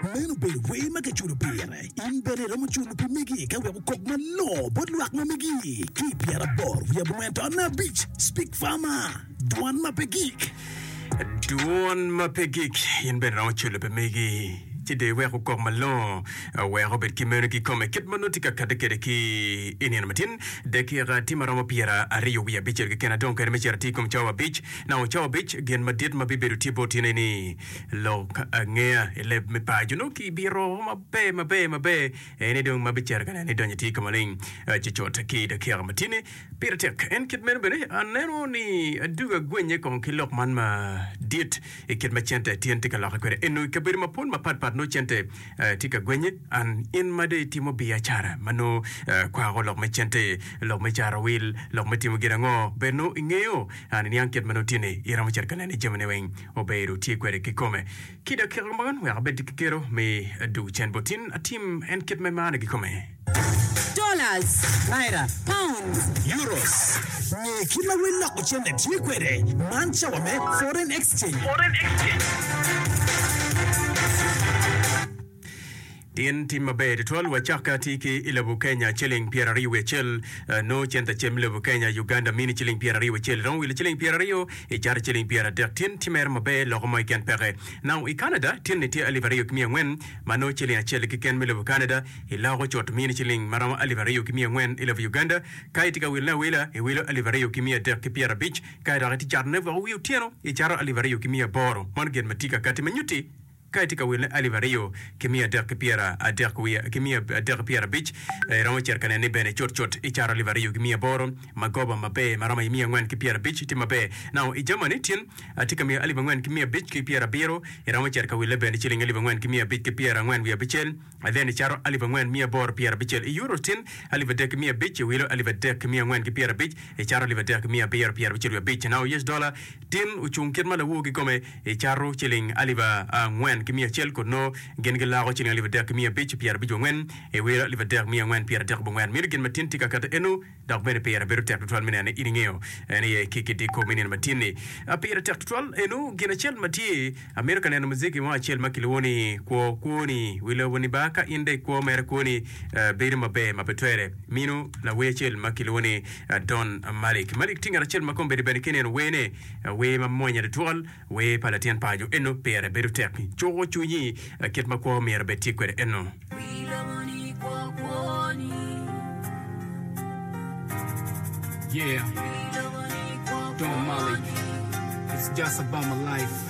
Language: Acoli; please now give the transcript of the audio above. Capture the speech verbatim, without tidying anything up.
Meno obedo wer ma kiculo pire. In bene iromo culo pi megi ka wek okok malongo bot lwak ma megi. Ki i pyeraboro wiye abongwen taun abic, Speak Farmer, Dwan ma pe gik. Dwon ma pe gik, in bene iromo culo pi megi ci dong iwek okok malongo wek obed ki meno kikome kit ma nongo tye ka kati kwede ki i nino matin. Dakika tye ma romo pyera aryo wiye abicel keken adong kwede me cito atir i kom cawa abic. Nongo cawa abic gin madit ma bibedo tye bot in aye ni lok angeya i leb me paco nongo kibito maber maber maber en aye dong ma bicito ka neno ni donyo atir ka maleng cucut ki i dakika matini. Pire tek en kit meno bene aneno ni aduga gwenye kong ki lok man madit i kit ma cente tyen tye ka lokke kwede eno i kabedo mapol mapat pat nongo cente tye ka gwenye an in ma dong itimo biacara ma nongo kwako lok me cente lok me caro wil lok me timo gin ango bene nongo ingeyo an iniang kit ma nongo tye ni iromo cito ka neno ni jamine weng obedo tye kwede kikome. Ki dakika man wek abed ki kero me dwogo cen bot in atim en kit ma imarone kikome. Dollars. Naira. Pounds. Euros. Nge kit ma wel loko cente tye kwede. Man cawa me Foreign Exchange. Tin tim maber tutwal wacak atir ki i lobo Kenya ciling pyeraryo wiye acel nongo cente acel me lobo Kenya Uganda mini ciling pyeraryo wiye acel iromo wilo ciling pyeraryo icato ciling pyeradek tin timere maber loko mo keken peke Now i Canada tin ni tye alip aryo ki miya angwen ma nongo ciling acel keken me lobo Canada iloko cut mini ciling maromo alip aryo ki miya angwen i lobo Uganda ka itye ka wilone awila iwilo alip aryo ki miya adek ki pyerabic ka dok itye catone woko wi otyeno icato alip aryo ki miya aboro mano gin ma tye kakati ma nyutti Ka itye ka wilone alip aryo ki miya adek ki pyera adek wiye ki miya adek ki pyera abic, iromo cito ka neno ni bene cutcut icato alip aryo ki miya aboro magoba maber ma romo i miya angwen ki pyera abic tye maber. Now i Germany tin atye ka miyo alip angwen ki miya abic ki pyera abiro, iromo cito ka wille bene ciling alip angwen ki miya abic ki pyera angwen wiye abicel, then icato alip angwen miya aboro pyera abicel. I Euro tin alip adek ki miya abic, iwilo alip adek ki miya angwen ki pyera abic, icato alip adek ki miya abiro pyera abicel wiye abic. Now U S dollar tin ocung kit ma lawor kikome Icato ciling alip angwen ki miya acel kun nongo gin giloko ciling alip adek ki miya abic pyerabic wangwen, iwilo alip adek miya angwen pyeradek bongwen. Mito gin matin tye ka kati eno, dok bene pire bedo tek tutwal me neno ni in ingeyo en aye ki kidiko me nino matin-ni. Pire tek tutwal eno gin acel ma tye, amito ka neno muziki mo acel ma kilwongo ni Kwo Kwoni Wi Lobo-ni ba ka in dong ikwo mere kwoni bedo maber ma pe twere. Mino lawer acel ma kilwongo ni Don Malik. Malik tye ngat acel ma kombeddi bene ka ineno werne, wer mamwonya tutwal. Wer pa latin paco eno pire bedo tek cuko cwinyi kit ma kwo myero bed tye kwede eno. Yeah, Don Malik, it's just about my life.